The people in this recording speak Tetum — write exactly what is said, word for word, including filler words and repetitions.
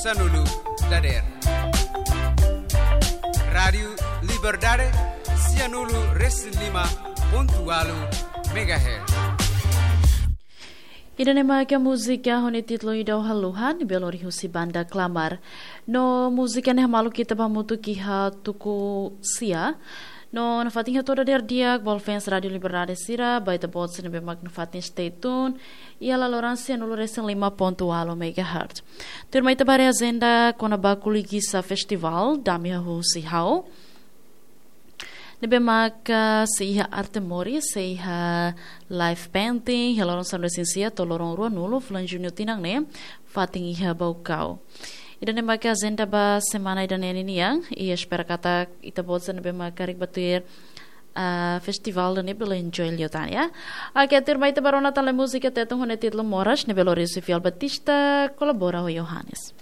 Sanulu dader. Rádiu Liberdade, sianulu resin lima pontu walu megahertz. Ida-ne'e mak múzika ho nia títulu Ida Haluhan, ne'ebé lori husi banda Klamar. No múzika ne'e hamaluk ita ba hamutuk iha tuku sia. No nafatin hato'o dader di'ak ba fans Rádiu Liberdade sira, ba ita-boot sira ne'ebé mak nafatin stay tune iha laloran sianulu resin lima pontu walu megahertz. Tuirmai ita ba haree ajenda kona-ba Kuligisa Festival, Dame Hahú Husi Ha'u. Ne'ebé maka sei iha arte moris, sei iha live painting, iha loron sanulu-resin-sia to'o loron ruanulu fulan Juñu tinan ne'e, fatin iha Baucau. Ida-ne'e maka ajenda ba semana ida-ne'e ninian, i espera katak ita-boot sira ne'ebé maka karik bá tuir, ah, festival ida-ne'e bele enjoy liután, ya. Oke, tuirmai ita bá rona tan lai múzika Tetun ho nia títulu Moras, ne'ebé lori husi Fiel Batista, kolabora ho Yohanes.